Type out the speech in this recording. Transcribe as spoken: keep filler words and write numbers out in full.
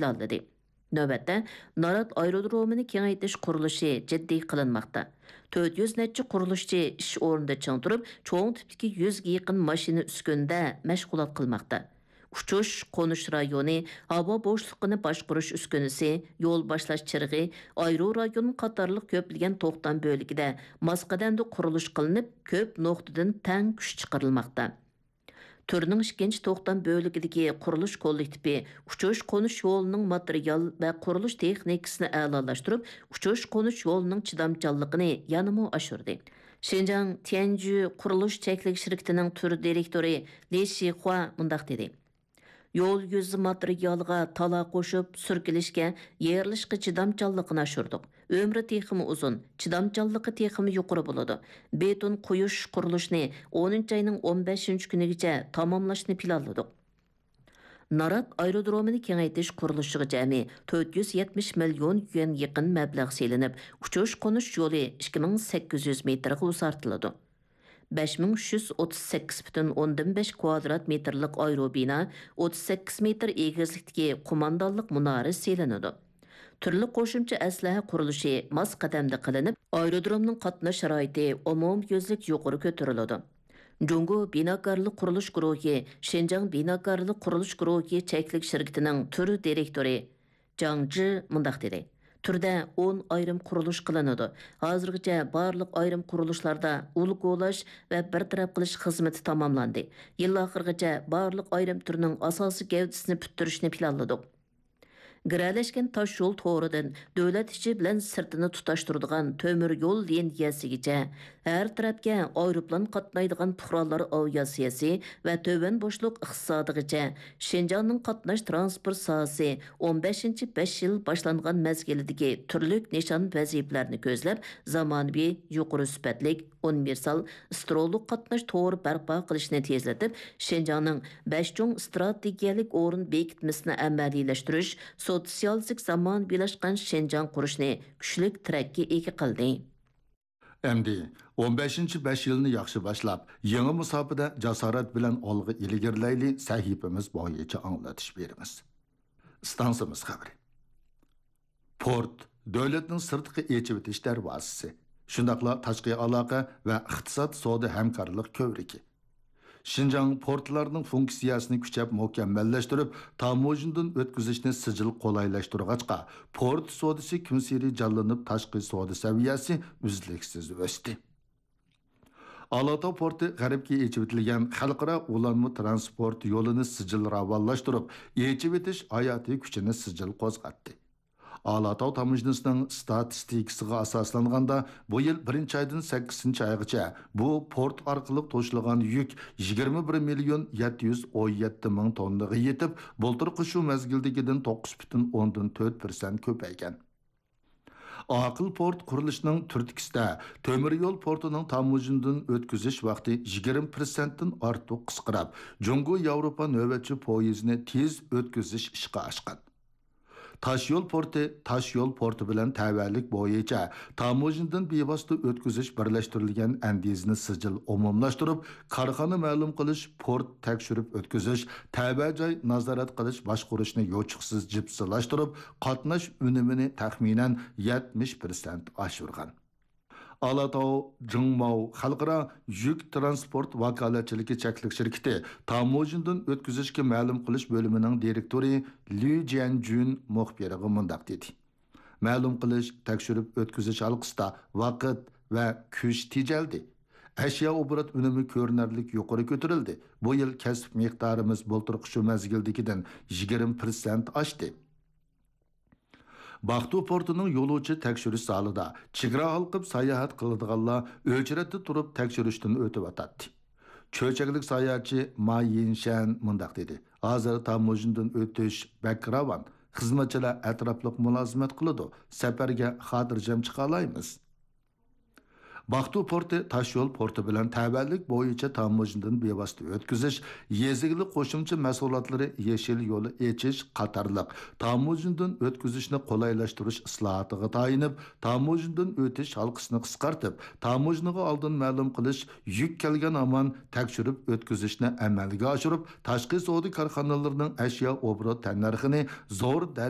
داللىدى. نۆۋەتتە، نارات ئايرودرومىنى كېڭەيتىش قۇرۇلۇشى جىددىي قىلىنماقتا. تۆت يۈز نەچچە قۇرۇلۇشچى ئىش ئورنىدا چىڭ تۇرۇپ، چوڭ تىپتىكى يۈزگە يېقىن ماشىنا ئۈسكۈنىدە مەشغۇلات قىلماقتا. ئۇچۇش، قونۇش رايونى، ھاۋا بوشلۇقىنى باشقۇرۇش ئۈسكۈنىسى، يول باشلاش چىرىغى، ئايرو رايون قاتارلىق كۆپلىگەن توختام بۆلىكىدە ماس قەدەمدە قۇرۇلۇش قىلىنىپ، كۆپ نۇقتىدىن تەڭ كۈچ چىقىرىلماقتا. تۈرنىڭ ئىككىنچى توختام بۆلىكىدىكى قۇرۇلۇش كوللېكتىپى ئۇچۇش قونۇش يولىنىڭ ماتېرىيال ۋە قۇرۇلۇش تېخنىكىسىنى ئەلالاشتۇرۇپ، ئۇچۇش قونۇش يولىنىڭ چىدامچانلىقىنى يەنىمۇ ئاشۇردى. شىنجاڭ تيەنجۈ قۇرۇلۇش چەكلىك شىركىتىنىڭ تۈر دىرېكتورى لى شىخۇا مۇنداق دېدى: يول يۈزى ماتېرىيالىغا تالا قوشۇپ، سۈركىلىشكە، يېرىلىشقا چىدامچانلىقىنى ئاشۇردۇق. ئۆمرى تېخىمۇ ئۇزۇن، چىدامچانلىقى تېخىمۇ يۇقىرى بولىدۇ. بېتون قويۇش قۇرۇلۇشىنى ئونىنچى ئاينىڭ ئون بەشىنچى كۈنىگىچە تاماملاشنى پىلانلىدۇق. نارات ئايرودرومىنى كېڭەيتىش قۇرۇلۇشىغا جەمئىي تۆت يۈز يەتمىش مىليون يۈەن يېقىن مەبلەغ سېلىنىپ، ئۇچۇش قونۇش يولى ئىككى مىڭ سەككىز يۈز مېتىرغا ئۇزارتىلىدۇ. بەش مىڭ ئۈچ يۈز ئوتتۇز سەككىز پۈتۈن ئوندىن بەش كۋادرات مېتىرلىق ئايروبىنا، ئوتتۇز سەككىز مېتىر ئېگىزلىكتىكى قوماندانلىق مۇنارى سېلىنىدۇ. تۈرلۈك قوشۇمچە ئەسلىھە قۇرۇلۇشى ماس قەدەمدە قىلىنىپ، ئايرودرومنىڭ قاتناش شارائىتى ئومۇميۈزلۈك يۇقىرى كۆتۈرۈلىدۇ. جۇڭگو بىناكارلىق قۇرۇلۇش گۇرۇھى شىنجاڭ بىناكارلىق قۇرۇلۇش گۇرۇھى چەكلىك شىركىتىنىڭ تۈر دىرېكتورى جاڭ جى مۇنداق دېدى: تۈردە ئون ئايرىم قۇرۇلۇش قىلىنىدۇ. ھازىرغىچە بارلىق ئايرىم قۇرۇلۇشلاردا ئۇل كولاش ۋە بىر تەرەپ قىلىش خىزمىتى تاماملاندى. يىل ئاخىرىغىچە بارلىق ئايرىم تۈرنىڭ ئاساسىي گەۋدىسىنى پۈتتۈرۈشنى پىلانلىدۇق. گىرەلەشكەن تاش يول تورىدىن دۆلەت ئىچى بىلەن سىرتىنى تۇتاشتۇرىدىغان تۆمۈر يول لىنىيەسىگىچە، ھەر تەرەپكە ئايروپىلان قاتنايدىغان پۇقرالار ئاۋىئاتسىيەسى ۋە تۆۋەن بوشلۇق ئىقتىسادىغىچە شىنجاڭنىڭ قاتناش تىرانسپورت ساھەسى ئون بەشىنچى بەش يىل باشلانغان مەزگىلىدىكى تۈرلۈك نىشان ۋەزىپىلەرنى كۆزلەپ، زامانىۋى، يۇقىرى سۈپەتلىك، ئۇنىۋېرسال، ئىسترولۇق قاتناش تورى بەرپا قىلىشنى تېزلىتىپ، شىنجاڭنىڭ بەش چوڭ ئىستراتېگىيەلىك ئورۇن بېكىتمىسىنى ئەمەلىيلەشتۈرۈش، سوتسىيالىزم زامانىۋىلاشقان شىنجاڭ قۇرۇشنى كۈچلۈك تىرەككە ئىگە قىلدى. ئەمدى ئون بەشىنچى بەش يىلنى ياخشى باشلاپ، يېڭى مۇساپىدە جاسارەت بىلەن ئالغا ئىلگىرىلەيلى سەھىپىمىز بويىچە ئاڭلىتىش بېرىمىز. ئىستانسىمىز خەۋىرى. پورت، دۆلەتنىڭ سىرتقا ئېچىۋېتىش دەرۋازىسى، شۇنداقلا تاشقى ئالاقە ۋە ئىقتىساد سودا ھەمكارلىق كۆۋرۈكى. شىنجاڭ پورتلارنىڭ فۇنكسىيەسىنى كۈچەپ مۇكەممەللەشتۈرۈپ، تاموژنىدىن ئۆتكۈزۈشنى سىجىل قولايلاشتۇرغاچقا، پورت سودىسى كۈنسېرى جانلىنىپ، تاشقى سودا سەۋىيەسى ئۈزلۈكسىز ئۆستى. ئالاتاۋ پورتى غەربكە ئېچىۋېتىلگەن خەلقئارا ئۇلانما تىرانسپورت يولىنى سىجىل راۋانلاشتۇرۇپ، ئېچىۋېتىش ھاياتىي كۈچىنى سىجىل قوزغاتتى. ئالاتاۋ تاموژنىسىنىڭ ستاتىستىكىسىغا ئاساسلانغاندا، بۇ يىل بىرىنچى ئايدىن سەككىزىنچى ئايغىچە بۇ پورت ئارقىلىق توشۇلغان يۈك يىگىرمە بىر مىليون يەتتە يۈز ئون يەتتە مىڭ توننىغا يېتىپ، بۇلتۇرقى شۇ مەزگىلدىكىدىن توققۇز پۈتۈن ئوندىن تۆت پىرسەنت كۆپەيگەن. ئاقىل پورت قۇرۇلۇشىنىڭ تۈرتكىسىدە، تۆمۈر يول پورتىنىڭ تاموژنىدىن ئۆتكۈزۈش ۋاقتى يىگىرمە پىرسەنتتىن ئارتۇق قىسقىراپ، جۇڭگو ياۋروپا نۆۋەتچى پويىزىنى تېز ئۆتكۈزۈش ئىشقا ئاشقان. تاشيول پورتى تاشيول پورتى بىلەن تەۋەلىك بويىچە تاموژنىدىن بىۋاسىتە ئۆتكۈزۈش بىرلەشتۈرۈلگەن ئەندىزىنى سىجىل ئومۇملاشتۇرۇپ، كارخانا مەلۇم قىلىش، پورت تەكشۈرۈپ ئۆتكۈزۈش، تەۋە جاي نازارەت قىلىش باشقۇرۇشنى يوچۇقسىز جىپسىلاشتۇرۇپ، قاتناش ئۈنۈمىنى تەخمىنەن يەتمىش پىرسەنت ئاشۇرغان. ئالاتاۋ جىڭماۋ خەلقئارا يۈك تىرانسپورت ۋاكالەتچىلىكى چەكلىك شىركىتى تاموژنىدىن ئۆتكۈزۈشكە مەلۇم قىلىش بۆلۈمىنىڭ دىرېكتورى ليۇ جيەنجۈن مۇخبىرغا مۇنداق دېدى: مەلۇم قىلىش، تەكشۈرۈپ ئۆتكۈزۈش ھالقىسىدا ۋاقىت ۋە كۈچ تېجەلدى. ئەشيا ئوبوروت ئۈنۈمى كۆرۈنەرلىك يۇقىرى كۆتۈرۈلدى. بۇ يىل كەسىپ مىقدارىمىز بۇلتۇرقى شۇ مەزگىلدىكىدىن يىگىرمە پىرسەنت ئاشتى. باقتۇ پورتىنىڭ يولۇچى تەكشۈرۈش زالىدا چېگرا ھالقىپ ساياھەت قىلىدىغانلار ئۆچرەتتە تۇرۇپ تەكشۈرۈشتىن ئۆتۈۋاتاتتى. چۆچەكلىك ساياھەتچى ما يىنشەن مۇنداق دېدى: ھازىر تاموژنىدىن ئۆتۈش بەك راۋان، خىزمەتچىلەر ئەتراپلىق مۇلازىمەت قىلىدۇ، سەپەرگە خاتىرجەم چىقالايمىز. باقتۇ پورتى تاشيول پورتى بىلەن تەۋەلىك بويىچە تاموژنىدىن بىۋاسىتە ئۆتكۈزۈش، يېزا ئىگىلىك قوشۇمچە مەھسۇلاتلىرى يېشىل يولى ئېچىش قاتارلىق تاموژنىدىن ئۆتكۈزۈشنى قولايلاشتۇرۇش ئىسلاھاتىغا تايىنىپ، تاموژنىدىن ئۆتۈش ھالقىسىنى قىسقارتىپ، تاموژنىغا ئالدىن مەلۇم قىلىش، يۈك كەلگەن ھامان تەكشۈرۈپ ئۆتكۈزۈشنى ئەمەلگە ئاشۇرۇپ، تاشقى سودا كارخانىلىرىنىڭ ئەشيا ئوبوروت تەننەرخىنى زور دەرىجىدە